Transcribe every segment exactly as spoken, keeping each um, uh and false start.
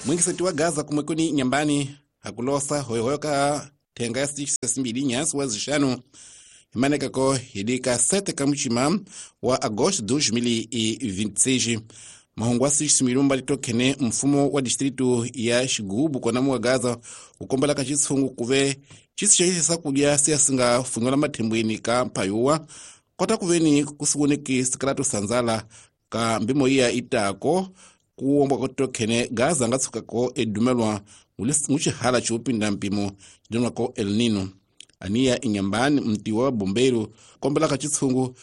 Mwingiseti wa Gaza kumwekuni nyambani hakulosa hoyohoyo ka thenga ya sitshi nyasi wa zixanu imanekako hidika sete ka muchima wa agosto dois mil e vinte e seis. Mahungu asixi milumba litokhene mfumo wa distritu ya Xigubu kona mu wa Gaza ukombela ka xitshungu kuve xisi xa kudya siya singa funyola mathembweni ka mpayuwa kota kuveni kusiwoneki sikratu sanzala ka mbimo iya itako kuombwa kotokhene Gaza nga tshukako edumelwa muxihala xo pinda mpimo xidonwako El Nino. Aniya inyambani mti wa bombeiro kombela ka xitshungu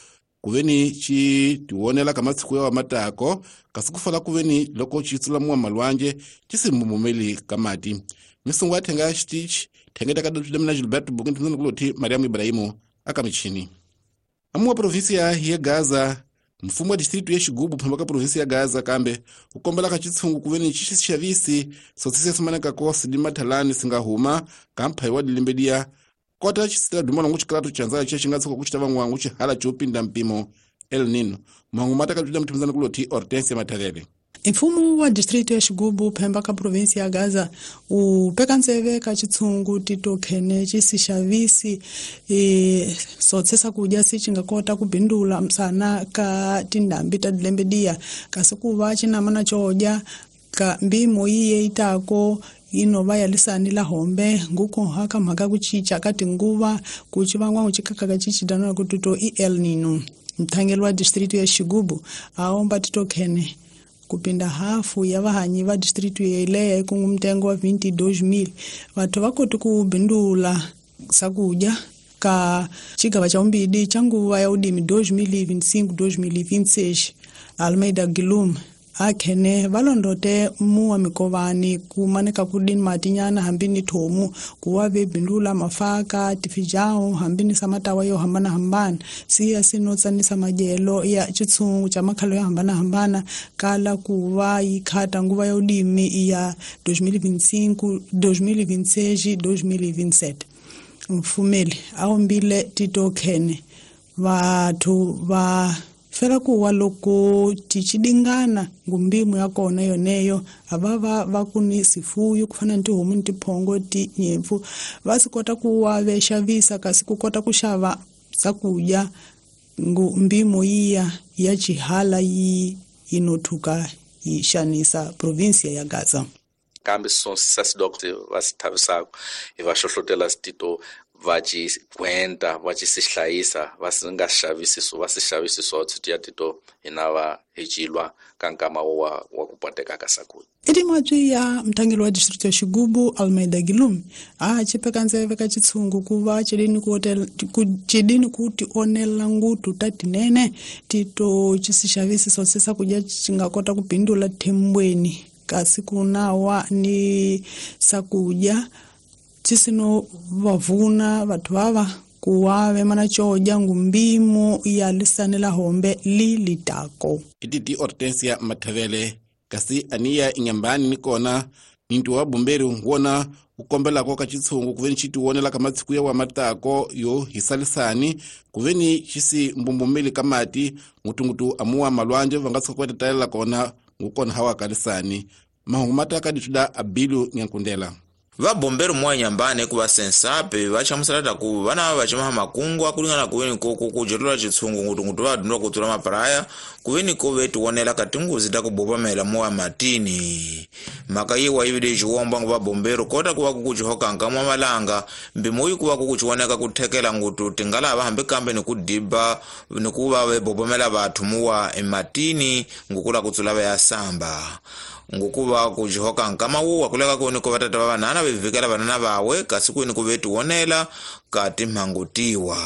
kuveni xi tiwonela ka matshiku ya matako kasi kufala kuveni loko xi tsula muwa malwanje xi si mbumumeli ka mati. Misungu ya thenga ya xitichi thengeta ka Dr. Gilberto Bukin tindana kuloti Mariamu Ibrahimu aka michini. Amuwa provinsia ya Gaza mfumo wa distritu ya Xigubu phamba ka provinsia ya Gaza kambe ukombela ka xitshungu kuveni xi xavisi sotsise simaneka ko sidimathalani singahuma ka mphayi wa dilembedia kota xisita duma longo xikratu chanza xi nga tshuka ku xita van'wangu xihala xo pinda mpimo El Nino. Mahungu mata ka Dr. Mthimzana kuloti Hortensia Mathavele. Mfumo wa distritu ya Xigubu phemba ka provinsi ya Gaza u peka ntseve ka xitshungu titokhene xisixavisi e sotsesa kudya si nga kota ku bindula msana ka tindhambi ta dilembedia kasi ku va xinamana xo dya ka mbimo yiye itako inova ya lisani la hombe nguko haka mhaka ku cinca ka tinguva ku xivangwa xikaka xicidana ku tuto i El Nino. Mthangeli wa distritu ya Xigubu a omba titokhene kupinda hafu ya vahanyi va distritu yeleyo ikungu mtengo wa vinte e dois mil vathu va koti ku bindula sakudya ka xigava xa vumbirhi xa nguva ya vurimi dois mil e vinte e cinco dois mil e vinte e seis. Almeida Gilum akhene va londote muwa mikovani ku maneka ku dini matinyana hambi ni thomu ku wa ve bindula mafaka tifijao hambi ni samatawa yo hambana hambana siya sinotsanisa madyelo ya xitshungu xa makhalo yo hambana hambana kala ku va yi khata nguva ya vurimi ya dois mil e vinte e cinco dois mil e vinte e seis dois mil e vinte e sete. Mfumeli a ombile titokhene vathu va fela ku wa loko tichidingana ngumbimu ya kona yoneyo ava va ku ni sifuyo ku fana ni tihomu ni tiphongo tinyimpfu va si kota ku wa ve xavisa kasi ku kota ku xava swakudya ngumbimu yiya ya xihala yi yinothuka yi xanisa provinsia ya Gaza. Kambe sasidokte va si thavisaka hi va hlohlotela sitito va ci gwenta va ci si hlayisa va si nga xavisi va si xavisi swotsi ya tito hina va hi cilwa ka nkama wa wa ku poteka ka sakudya. Eti ya mthangeli wa district ya Xigubu Almeida Gilum a xipeka ntseve ka xitshungu ku va xidini ku ku xidini ku tionela ngutu ta tinene tito xisixavisi swotsi sakudya xi nga kota ku bindula thembweni kasi ku nawa ni sakudya xisino vavuna vathu vava ku wa ve mana xodya ngumbimo ya lisani la hombe li litako. Ititi Hortensia Mathavele kasi aniya inyambani ni kona nintu wa bumberi wona ukombelako ka xitshungu kuveni xi tiwonela ka matshiku ya wa matako yo hisalisani kuveni xisi mbumbumeli ka mati ngutungutu amuwa malwanje va nga tshuka ku talela kona ngukona hawa kalisani. Mahungu mataka dituda abilu nyankundela. Va bombeiro mwa nyambani ku va sensape va chamusela ku vana va chimaha makungu akulingana kuveni ko ku jerula xitshungu ngutungutu va dundwa ku tsula mapraya kuveni ko ve tiwonela ka tinguzi ta ku bobamela mowa matini. Mhaka yiwa yi vile xiwomba va bombero kota ku va ku kuxihoka nkamwa malanga mbimo yi ku va ku kuxiwoneka ku thekela ngutu tingalava hambi kambe ni ku diba ni ku va ve bobamela vathu muwa ematini ngukula ku tsula va ya samba. Ngukuva kuxihoka nkama wuwa kuleka kuni ku vatata va vanhana ve vikela vanana vawe kasi kwini ku ve tiwonela ka timhangu tiwa.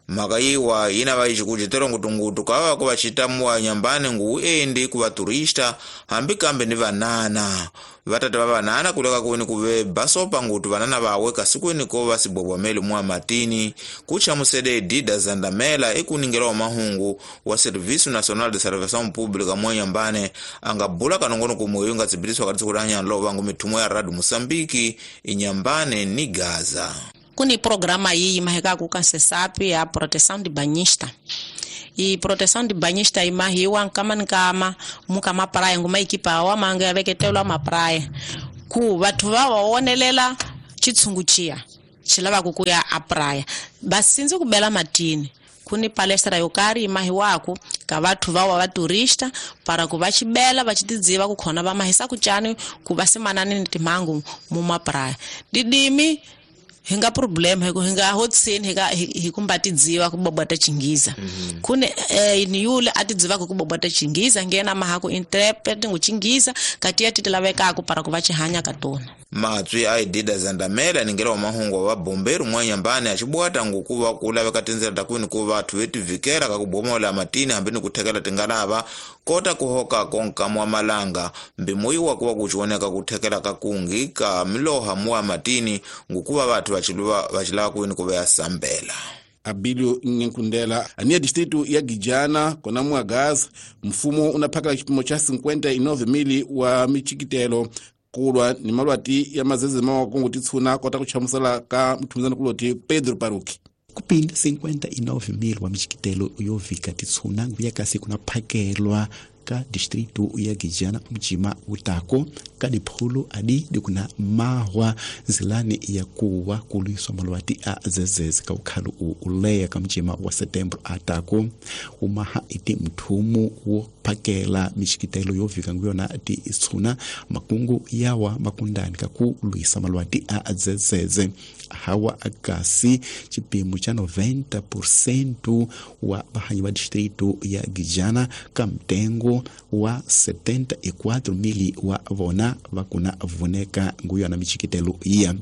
Mhaka yiwa yina va xikucetelo ngutungutu ka va ku va xitamuwa nyambani ngu endi ku va turista hambi kambe ni vanana. Vatata va vanana kuleka kuni ku ve basopa ngutu vanana vawe kasi kwini ko va sibobameli mwa matini ku chamusede Dida Zandamela ekuningela wa mahungu wa Serviço Nacional de Salvação Pública mwa nyambane anga bula kanongono kumwe nga tsibiliswa ka tsiku la nyanlo vangu mithumo ya Radio Moçambique inyambane ni Gaza. Kuni programa iyi maheka ku kansesapi ya proteção de banhista. I proteção de banhista imahiwa nkama nkama muka mapraia nguma ikipa wa manga ya veketelwa mapraia ku vathu va va wonelela chitshungu chiya xi lavaku ku ya a praia basinzi ku bela matini kuni palestra yo karhi imahiwaku ka vathu va wa va turista para ku va xibela va xitidziva ku khona va mahisa ku cani ku va simanani ni timhangu mu mapraia didimi hi nga problem hi ku hi nga hotsini hi ka hi kumba tidziva ku bobota chingiza mm-hmm. Kune eh, ni yule a tidziva ku bobota chingiza ngena maha ku interpret ngu chingiza kati ya titilavekaku para ku va xihanya ka tona. Matswi a idida zandamela ningela wa mahungu wa bomberu mwanyambani achibwata ngukuva kulaveka tindzela ta kwini ku vathu vetivikela ka kubomola matini hambi ni kuthekela tingalava kota kuhoka konka mwa malanga mbimuyiwa kuva kuchioneka kuthekela ka kungi ka miloha muwa matini ngukuva vathu vachiluva vachilava kwini kuva ya sambela. Abilio Nyankundela ania distrito ya Gijana kona Mwagaza mfumo unaphakela chipimo cha cinquenta e nove mili wa michikitelo kulwa ni malwati ya mazeze mawa Kongo titsuna kota kuchamusela ka mthumizana kuloti Pedro Paruki. Kupinda cinquenta e nove mil wa michikitelo yovika titsuna nguya kasi kunaphakelwa ka distrito ya Gijana mjima utako ka dipholo adi dikuna mahwa nzilani ya kuwa kulwiswa malwati a zezeze ka ukhalo uleya ka mjima wa setembro atako umaha iti mthumu wo phakela michikitelo yovika nguyona ti itsuna makungu yawa makundani ka ku lwisa malwati a zezeze hawa akasi chipimo cha noventa por cento wa bahanyi wa distrito ya Gijana ka mtengo wa setenta e quatro mili wa vona vakuna vuneka nguyona michikitelo iya.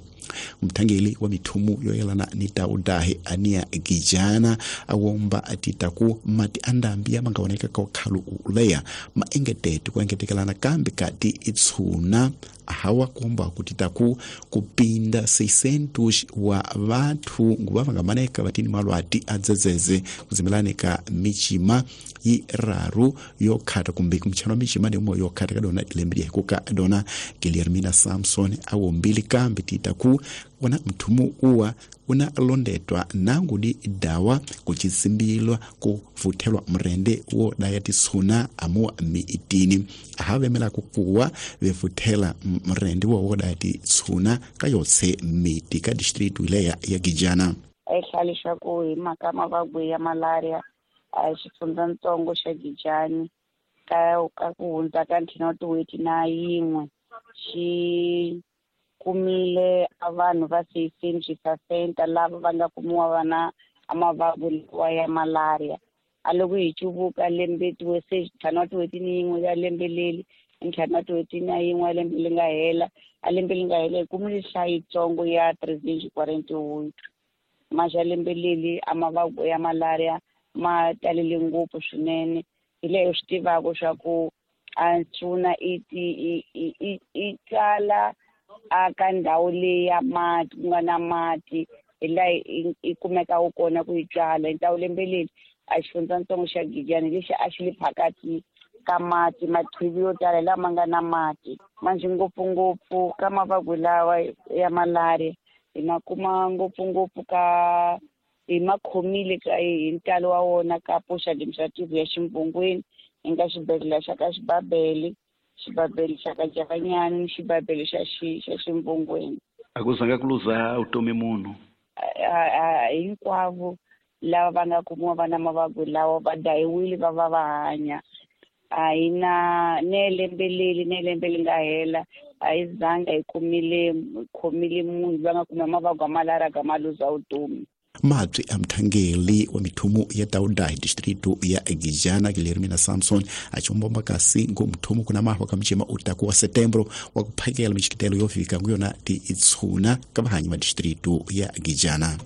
Mthangeli wa mithumu yoyelana ni taudahi ania Gijana awomba atitaku mati andambi ya mangaoneka ka ukhalu uleya maengetete kuengetekelana kambi kati itsuna hawa kuomba kutitaku kupinda seiscentos wa vathu nguva vangamaneka vatini malwati adzedzeze kuzimelane ka michima iraru yokhata kumbe kumchano michima ndimo yokhata kadona lembe kuka dona Guilhermina Samson awombili kambi titaku wana mthumu uwa una londetwa nangu di dawa kuchisimbilwa kuvuthelwa mrende wo daya tisuna amuwa miitini ahavemela kukuwa vevuthela mrende wo wo daya tisuna kayotse miti ka distritu ileya ya Gijana. Ehlalisha ku hi mhaka mavabyi ya malaria a xifundzatsongo xa Gijani ka ka ku hundza ka ntlhanu wa tin'hweti na yin'we xi kumile a vanhu va seiscentos lava va nga kumiwa va na mavabyi lawa ya malaria. A loko hi cuvuka lembe ntlhanu wa tin'hweti ni yin'we ya lembe leri ntlhanu wa tin'hweti na yin'we ya lembe leri nga hela a lembe leri nga hela hi kumile nhlayo yitsongo ya trezentos quarenta e oito. Maxa lembe leri a mavabyi ya malaria ma talele ngopfu swinene hi leyo swi tivaka swa ku a ntshuna i i i i tsala a ka ndhawu leyi ya mati ku nga na mati hi laha i kumekaka kona ku yi tswala. Hi ndhawu lembe leri a xifundzatsongo xa Gijani lexi a xi le phakathi ka mati mathivi yo tala lama nga na mati manjhe ngopfungopfu ka mavabyi lawa ya malaria hi ma kuma ngopfungopfu ka hi ma khomile ka hi ntalo wa wona ka poxa administrative ya Ximbungwini hi nga xibedhlele xa ka Xibabele xibabele xa ka Javanyani ni xibabele xa xi xa Ximbungwini. A ku zanga ku luza vutomi munhu hinkwavo lava va nga kumiwa va na mavabyi lawa va dayiwile va va va hanya. A hi na ne lembe leri ne lembe leri nga hela a hi zanga hi kumile khomile munhu va nga kuma mavabyi ya malaria ka ma luza vutomi. Matswi a mthangeli wa mithumu ya Taudahi distrito ya Gijana Guilhermina Samson achimbomba kasi ngo mthumu kuna mahwa ka mchima utaku wa setembro wa kuphakela michikitelo yofika nguyona ti itsuna ka vahanyi va distrito ya Gijana.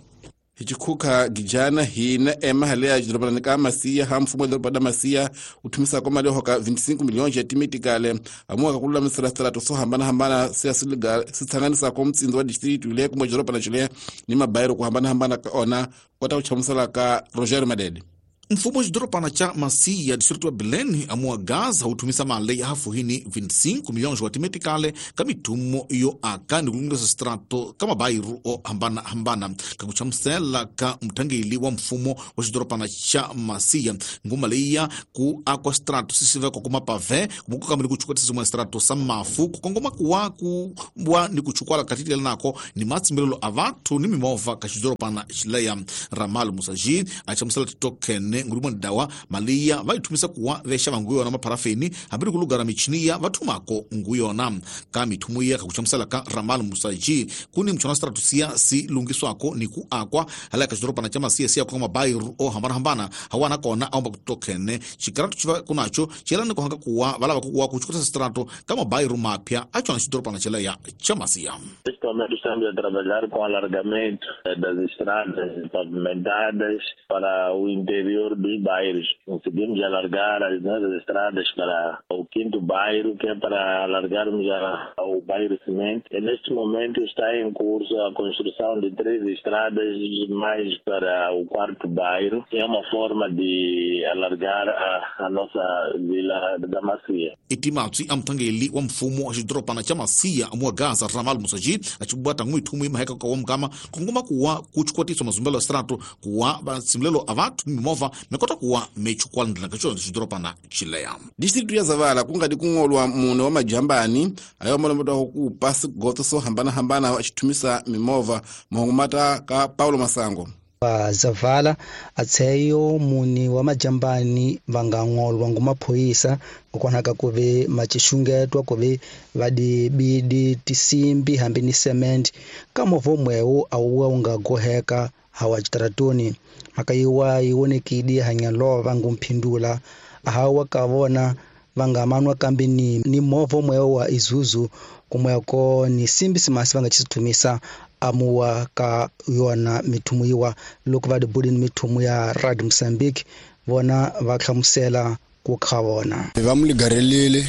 Hichikhuka Gijana hina ema ya doroba ka Masiya ha mfumo doroba da Masiya uthumisa kwa mali hoka vinte e cinco milhões ya timitikale amuka kululamisela strato so hambana hambana siya siliga sithanganisa kwa mtsindo wa distrito ile kuma doroba na chile ni mabairo ku hambana hambana ka ona kota kuchamusela ka Roger Madede. Mfumo wa xidorobana xa Macia distrito wa Belém amuwa Gaza wu thumisa mali ya hafuhini vinte e cinco milhões wa timetikale ka mithumo yo aka ni ku lunghisa switrato ka mabayiru o hambanahambana. Ka ku chamusela ka muthangeli wa mfumo wa xidorobana xa Macia nguma leyiya ku akwa switrato swi sivekwa ku mapave ku kambe ni ku chukwatisa swin'wana switrato swa mafu ku kongoma kuwa ku wa ni ku chukwala ka titlela nako ni matshimbilelo a vathu ni mimovha ka xidorobana xileya. Ramal Musaji a chamusela titoken ngulumani dawa maliya va yi thumisa kuwa vexa va nguyona mapharafeni hambi ri ku lugara michiniya va thumako nguyona. Ka mithumo ya ka ku chamusela ka Ramal Musaji ku ni mchona stratusia si lungiswako ni ku akwa hala ka xidorobana xa Macia siya ku mabayiru o hambanahambana hawana kona a omba ku tokene xikaratu xi va kunacho xelani ku hanga kuwa va lava ku kuwa ku chukutisa strato ka mabayiru mapya a chona xidorobana xeleya xa Macia. Estamos a trabalhar com alargamento das estradas pavimentadas para o interior dos bairros. Conseguimos alargar as nossas estradas para o quinto bairro, que é para alargarmos a, ao bairro Cimento. E neste momento está em curso a construção de três estradas mais para o quarto bairro, que é uma forma de alargar a, a nossa vila da Macia. Itimatsi amthangeli wa mfumo wa xidorobana xa Macia amuwa Gaza Ramal Musaji a xibwata n'wi thumu maheka ka wa mugama kongoma kuwa ku chukwatisa mazumbelo ya strato kuwa vatshimilelo a vathu mimovha mikota kuwa mechukwala ndlela ka xona xidorobana xileya. Distritu ya Zavala ku nga di kungolwa mune wa majambani ayo malomotwa ku kupa swigoto swo hambanahambana a xithumisa mimovha. Mahungu mata ka Paulo Masango. Va Zavala atseyo muni wa majambani va nga ngolwa ngumaphoyisa kokwalaka ku ve macixungetwa ku ve va dibidi tisimbi hambi ni cement ka movha mwewu a wu wu nga goheka hawa xitaratoni. Mhaka yiwa yi vonekile hanyalova ngumphindula hawa ka vona va nga manwa kambe ni ni movha mwewu wa Isuzu kumweko ni simbi simasi va nga xithumisa amuwa ka yona mithumu yiwa loko va dibulini mithumu ya Rad Mozambique vona va hlamusela ku kha vona va mu ligarelile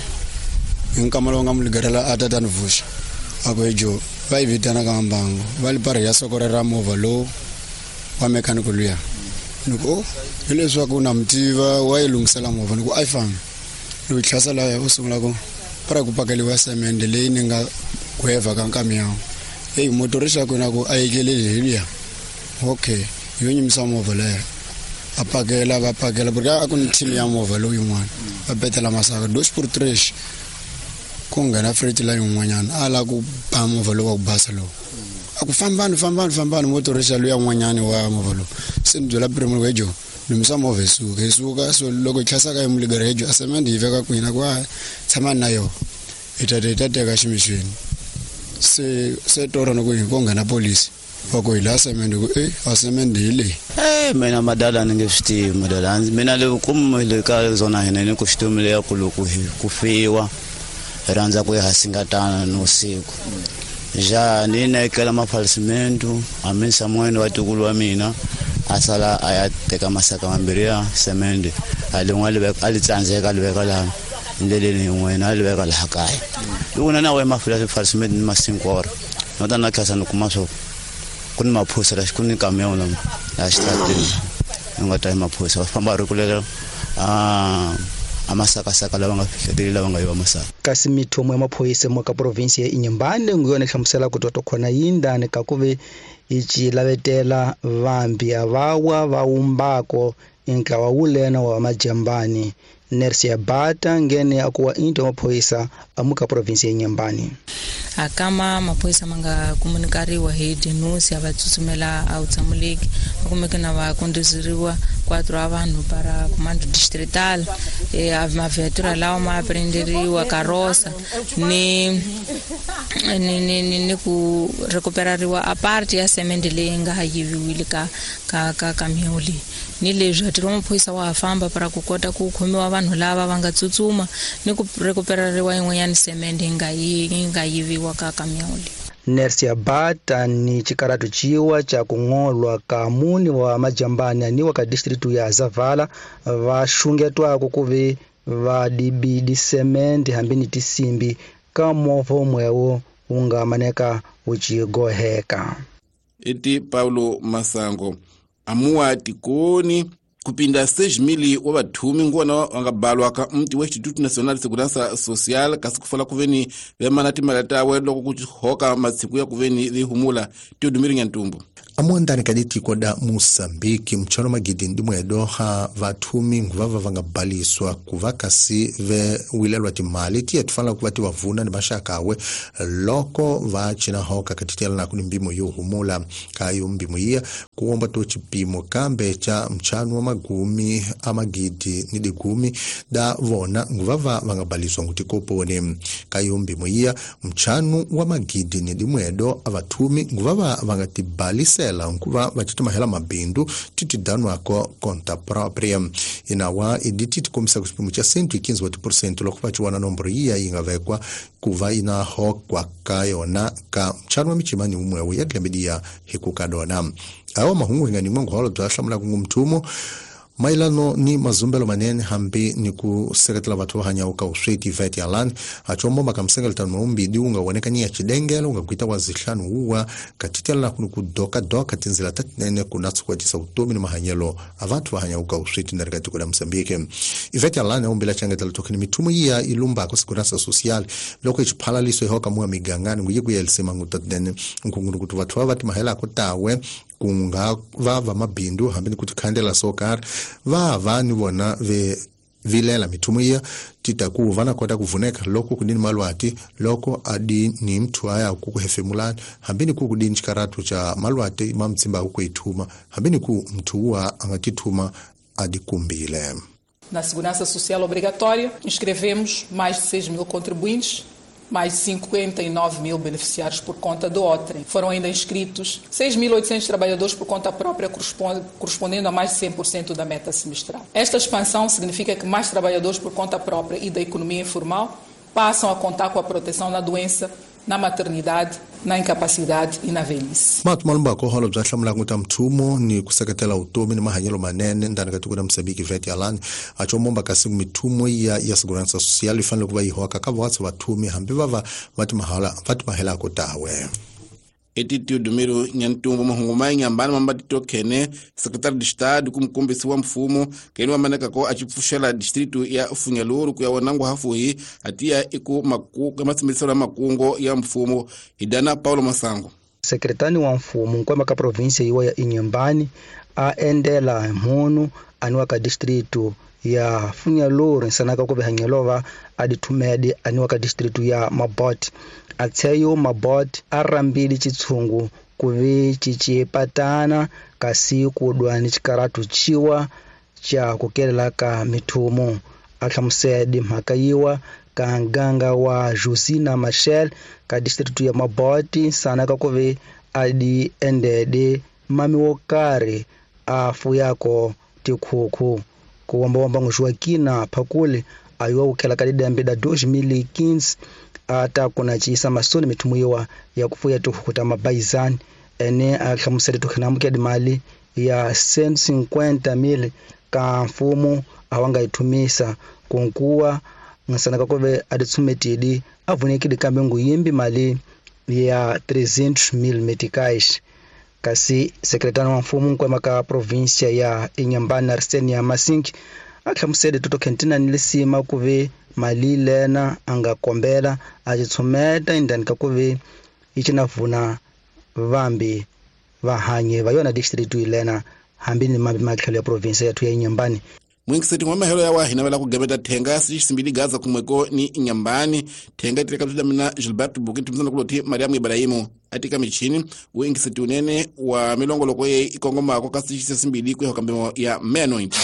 hi nkama lowu nga mu ligarela a tata ni vuxa a ku ejo va yi vitana ka mbangu va li parhi ya soko ra movha lowu wa mechanical luya ni ku o hileswaku na mi tiva wa yi lunghisela movha ni ku a yi fambi loko yi tlhasa laya u sungula ku para ku pakeliwa semende leyi ni nga gwevha ka nkamiyawu. Hey, motorista ku na ku a yekeleli hi luya okay yo nyimisa movha leya a pakela va pakela porque a ku ni team ya movha lowu yin'wana va betela masaka dos por tres ku nghena freight line yin'wanyana a lava ku ba movha lowu wa ku basa lowu a ku fambani fambani fambani motorista luya n'wanyani wa movha lowu se ni byela primo wejo lumisa movha hi suka hi suka so loko hi tlhasaka hi muligara hejo a semende yi veka kwini a ku a tshama na yona hi ta hi ta teka ximixweni se se tora no ku hi ko nghena polisi va ku hi laha semende ku e a semende hi leyi. Eh mina madala ni nge swi tivi madala mina le kumu le ka zona hina ni ku xitumu leya ku loko hi ku fiwa hi rhandza ku ya hasingatana ni usiku ja ni nekela mafalsimento a mi samuel wa tikulu wa mina a sala a ya teka masaka mambirhi ya semende a lin'we a li veka a li tsandzeka a li veka laha ndleleni yin'wana a li veka laha kaya loko na na we mafalsimento ni masinkoro no ta na tlhasa ni kuma swo ku ni maphosa la ku ni kamion la la xitarateni ni nga ta hi maphosa va famba ri kulela a a masakasaka lava nga fihleteli lava nga yiva masaka. Kasi mithumo ya maphoyisa mo ka province ya Inhambane nguyona hlamusela ku toto khona yindani ka ku ve yi ci lavetela vambi avawa va wumbako intlawa wulena wa majambani Nersia Bata ngene akuwa into maphoyisa amuka province ya Inhambane. Akama maphoyisa manga komunikariwa hi denuncia va tsutsumela a utsamuleki va kumeke na va kondizeriwa quatro a vanhu para comando distrital e a maviatura lawa ma aprenderiwa karosa ni ni ni ni, ni ku recuperariwa a parte ya semende leyi nga yiviwile ka ka ka kamion leyi ni leswi ntirho wa maphoyisa wa ha famba para ku kota ku khomiwa vanhu lava va nga tsutsuma ni ku recuperariwa yin'wanyana semende yi nga yi nga yiviwa ka kamion leyi. Nersia Bata ni chikaratu chiwa cha kung'olwa ka muni wa majambani aniwa ka distritu ya Zavala va xungetwako ku ve va dibidi semende hambi ni tisimbi ka movha mwewo wu nga maneka wu cigoheka. Iti Paulo Masango amuwa tikoni Kupinda seis mil wa vathumi ngona wa nga balwa ka mti wa Instituto Nacional de Segurança Social kasi kufala kuveni vemana timali tawe loko ku hoka matsiku ya kuveni vihumula Teodomiro Nyantumbu. Amuandani kaditiko da Moçambique mchano magidi ndimwe ha vathumi nguvava vangabhaliswa kuva kasi ve wilelwa timali tiye tifana kuva tiwavuna ni maxakawe loko va cina hoka katitela na kuni mbimo yo humula kayo mbimo iya kuomba to chipimo kambe cha mchano wa magumi amagidi ni digumi da vona nguvava vangabhaliswa ngutikoponi kayo mbimo iya mchano wa magidi ni dimwedo avathumi nguvava vangatibhalisa nkuva vachitimahela mabindu titidanwako conta própria inawa iditi tikomisa ku xipimo xa cento e quinze wa tiphesente loko va ciwana nomboro yiya yi nga vekwa kuva yi na hokwa ka yona ka mchano wa michimani umwewu ya tlembediya hi ku ka dona awa mahungu hi nga nyikiwa nguholo bya hlamulaka ngumthumo mailano ni mazumbelo manene hambi ni ku seketela vathu va hanyaka ka usweti vet ya lani achombo makamsengeletano maumbidi unga wonekani ya chidengelo unga kuita wa zihlanu uwa katitela kuni ku doka doka tinzila tatinene kuna tsukwatisa utomi ni mahanyelo a vathu va hanyaka ka usweti na rikatiko la Mozambique. Ivet ya lani aumbila changetela tokini mithumo iya ilumbako segurança social loko ichiphalaliso ihoka muwa migangani nguye kuyelisema ngutatinene nkungunu kuti vathu va vatimahelako tawe kunga va va mabindu hambi ni kuti khandela sokar va va ni vona ve vilela mithumo iya titaku vana kota kuvuneka loko kudini malwati loko adi ni mthu aya ku kuhefemulani hambi ni ku kudini chikaratu cha malwati mamtsimba ku ithuma hambi ni ku mthu wa angatithuma adikumbile. Na Segurança Social Obrigatória, inscrevemos mais de seis mil contribuintes, mais de cinquenta e nove mil beneficiários por conta do OTREM. Foram ainda inscritos seis mil e oitocentos trabalhadores por conta própria, correspondendo a mais de cem por cento da meta semestral. Esta expansão significa que mais trabalhadores por conta própria e da economia informal passam a contar com a proteção na doença, na maternidade, na incapacidade e na velhice. Matu malumba ko holo bya hlamula ku ta mthumo ni ku seketela utomi ni mahanyelo manene ndani ka tiko la Mozambique vet ya lani achomomba kasi mithumo ya ya segurança social yi fanele ku va yi hoka ka vathu vathumi hambi va va va timahala va timahela ko tawe. Eti Teodomiro Nyantumbu mahungu mainyambani mambatito khene secretário de Estado kumkumbisi wa mfumo keni wamaneka ko achipfuxela distrito ya Funhalouro ku ya wanangu hafuhi atiya iku makuka matsimbiselo ya makungo ya mfumo hidana Paulo Masango. Sekretani wa mfumo nkwama ka provinsia yiwa ya Inhambane a endela mhunu aniwa ka distrito ya Funhalouro nsanaka ku vehanyelova a dithumedi aniwa ka distrito ya Mabote atseyo Mabote a rambili chitshungu kuve chichipatana kasi kudwa ni chikaratu chiwa cha kukelela ka mithumo a hlamusedi mhaka yiwa ka nganga wa Josina Machel ka distrito ya Mabote nsanaka kuve a di endede mami wo karhi a fuyako tikhukhu kuwambawamba ngujoaquina phakule ayiwa kukhela ka didembe da dois mil e quinze ata kuna chisa masoni mithumo yiwa ya kufuya tihuku ta mabayizani ene a hlamusele tukhinamukya dimali ya cento e cinquenta mil ka mfumo awanga yithumisa kunkuwa nsanaka kuve a ditsumetidi a vunekile kambe nguyimbi mali ya trezentos mil meticais. Kasi sekretari wa mfumo nkwema ka provinsia ya Inhambane Arsenia Masinki a hlamusele toto khentina ni lisima kuve mali lena anga kombela a tshumeta indani ka kuve yi cina vambi vahanye va yona district ilena hambi ni mambi matlhelo ya provinsia yathu ya Inhambane. Mwingiseti wa mahelo ya wa hina wala kugemeta thenga sisimbili gaza kumweko ni Inhambane thenga itireka tuda mina Gilberto Bukintu mzana kuloti Mariamu Ibrahimu atika michini wingiseti unene wa milongo loko ye ikongoma kwa kasi sisimbili kwe hokambemo ya meanoint.